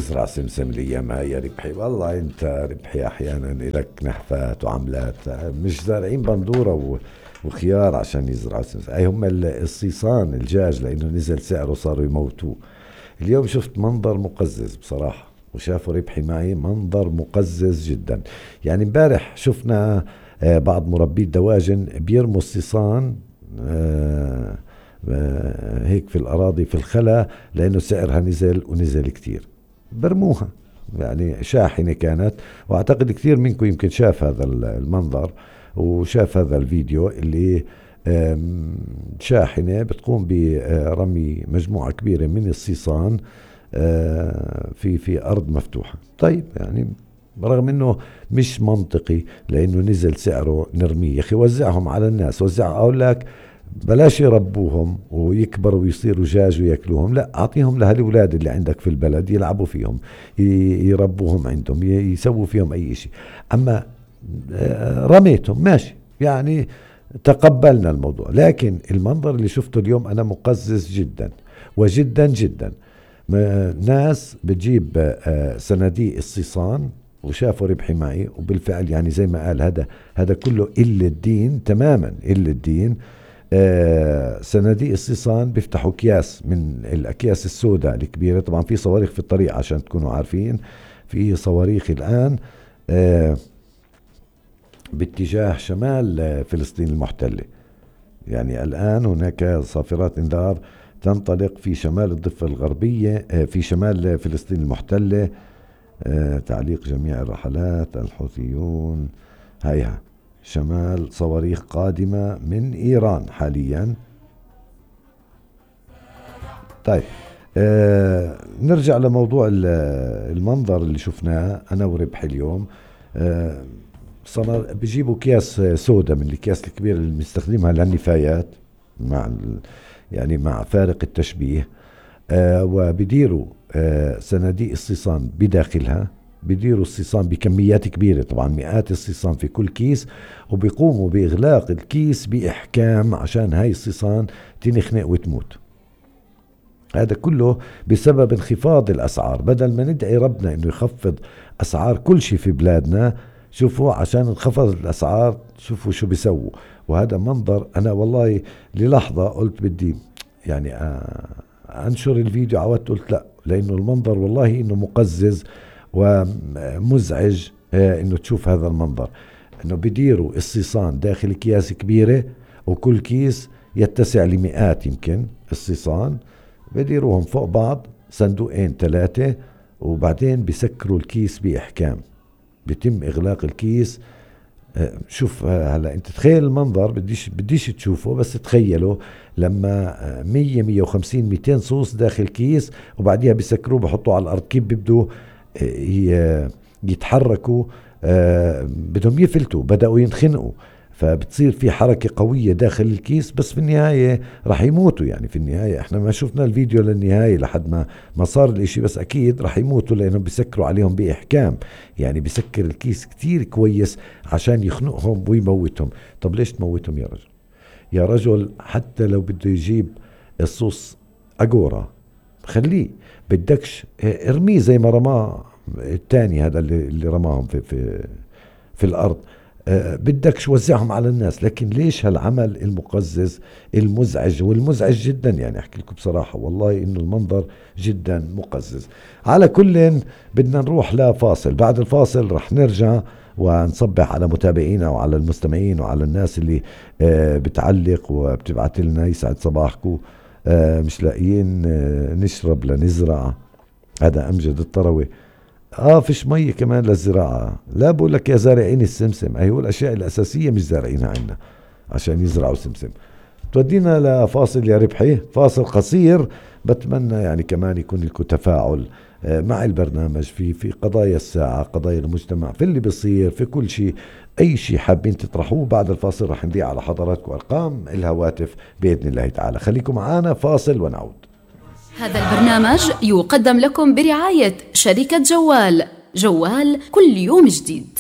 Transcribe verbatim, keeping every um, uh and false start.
تزرع سمسم الأيام هاي يا ربحي؟ والله أنت ربحي أحيانا لك نحفات وعملات، مش زارعين بندورة وخيار عشان يزرعوا سمسم. أي هم الصيصان الجاج لأنه نزل سعره صاروا يموتوه. اليوم شفت منظر مقزز بصراحة، وشافوا ربحي معي منظر مقزز جدا. يعني امبارح شفنا بعض مربي الدواجن بيرموا الصيصان هيك في الأراضي في الخلا لأنه سعرها نزل ونزل كتير، برموها يعني شاحنة كانت. وأعتقد كثير منكم يمكن شاف هذا المنظر وشاف هذا الفيديو اللي شاحنة بتقوم برمي مجموعة كبيرة من الصيصان في في أرض مفتوحة. طيب يعني رغم انه مش منطقي لانه نزل سعره نرميه، يا اخي وزعهم على الناس، وزع. اقول لك بلاش يربوهم ويكبروا ويصيروا جاج وياكلوهم، لا اعطيهم لهالولاد اللي عندك في البلد يلعبوا فيهم، يربوهم عندهم، يسووا فيهم اي شيء. اما رميتهم ماشي، يعني تقبلنا الموضوع. لكن المنظر اللي شفته اليوم انا مقزز جدا وجدا جدا. ناس بتجيب صناديق الصيصان وشافوا ربحي معي، وبالفعل يعني زي ما قال هذا هذا كله إلا الدين تماما، إلا الدين. آه صناديق الصيصان بيفتحوا أكياس من الأكياس السوداء الكبيرة. طبعا في صواريخ في الطريق عشان تكونوا عارفين، في صواريخ الآن آه باتجاه شمال فلسطين المحتلة. يعني الآن هناك صافرات انذار تنطلق في شمال الضفة الغربية، آه في شمال فلسطين المحتلة. آه تعليق جميع الرحلات الحوثيون. هيها شمال صواريخ قادمة من إيران حاليا. طيب آه نرجع لموضوع المنظر اللي شفناه أنا وربحي اليوم. آه صار بيجيبوا أكياس سودا من الأكياس الكبيرة اللي بنستخدمها للنفايات، مع يعني مع فارق التشبيه. آه وبديروا آه صناديق الصيصان بداخلها، بديروا الصيصان بكميات كبيرة، طبعا مئات الصيصان في كل كيس، وبيقوموا بإغلاق الكيس بإحكام عشان هاي الصيصان تنخنق وتموت. هذا كله بسبب انخفاض الأسعار. بدل ما ندعي ربنا إنه يخفض أسعار كل شيء في بلادنا، شوفوا عشان انخفض الأسعار شوفوا شو بيسووا. وهذا منظر أنا والله للحظة قلت بدي يعني أنشر الفيديو، عودت قلت لا، لأنه المنظر والله إنه مقزز ومزعج. إنه تشوف هذا المنظر، إنه بديروا الصيصان داخل أكياس كبيرة، وكل كيس يتسع لمئات يمكن الصيصان، بديروهم فوق بعض صندوقين ثلاثة، وبعدين بسكروا الكيس بإحكام، بيتم إغلاق الكيس. شوف هلا انت تخيل المنظر، بديش بديش تشوفه بس تخيله لما مية مية وخمسين ميتين صوص داخل كيس، وبعديها بيسكروه بحطوه على الارض، كيف بيبدوا يتحركوا، بدهم يفلتوا، بدأوا ينخنقوا، فبتصير في حركة قوية داخل الكيس، بس في النهاية رح يموتوا. يعني في النهاية احنا ما شفنا الفيديو للنهاية لحد ما ما صار الاشي، بس اكيد رح يموتوا لانهم بيسكروا عليهم باحكام. يعني بيسكر الكيس كتير كويس عشان يخنقهم ويموتهم. طب ليش تموتهم يا رجل؟ يا رجل حتى لو بده يجيب الصوص اجورا خليه، بدكش ارميه زي ما رماه الثاني هذا اللي, اللي رماهم في في في الارض. أه بدكش وزعهم على الناس. لكن ليش هالعمل المقزز المزعج والمزعج جدا؟ يعني احكي لكم بصراحة والله انه المنظر جدا مقزز. على كل بدنا نروح لفاصل، بعد الفاصل رح نرجع ونصبح على متابعينا وعلى المستمعين وعلى الناس اللي أه بتعلق وبتبعت لنا يسعد صباحكم. أه مش لاقيين أه نشرب لنزرع. هذا أمجد الطروي. اه فيش مية كمان للزراعة. لا بقول لك يا زارعين السمسم، ايوه الاشياء الاساسية مش زارعينها عنا عشان يزرعوا سمسم. تودينا لفاصل يا ربحي، فاصل قصير. بتمنى يعني كمان يكون لكم تفاعل مع البرنامج في في قضايا الساعة، قضايا المجتمع، في اللي بيصير، في كل شيء، اي شيء حابين تطرحوه. بعد الفاصل رح نذيع على حضراتكم ارقام الهواتف باذن الله تعالى. خليكم معنا، فاصل ونعود. هذا البرنامج يقدم لكم برعاية شركة جوال. جوال كل يوم جديد.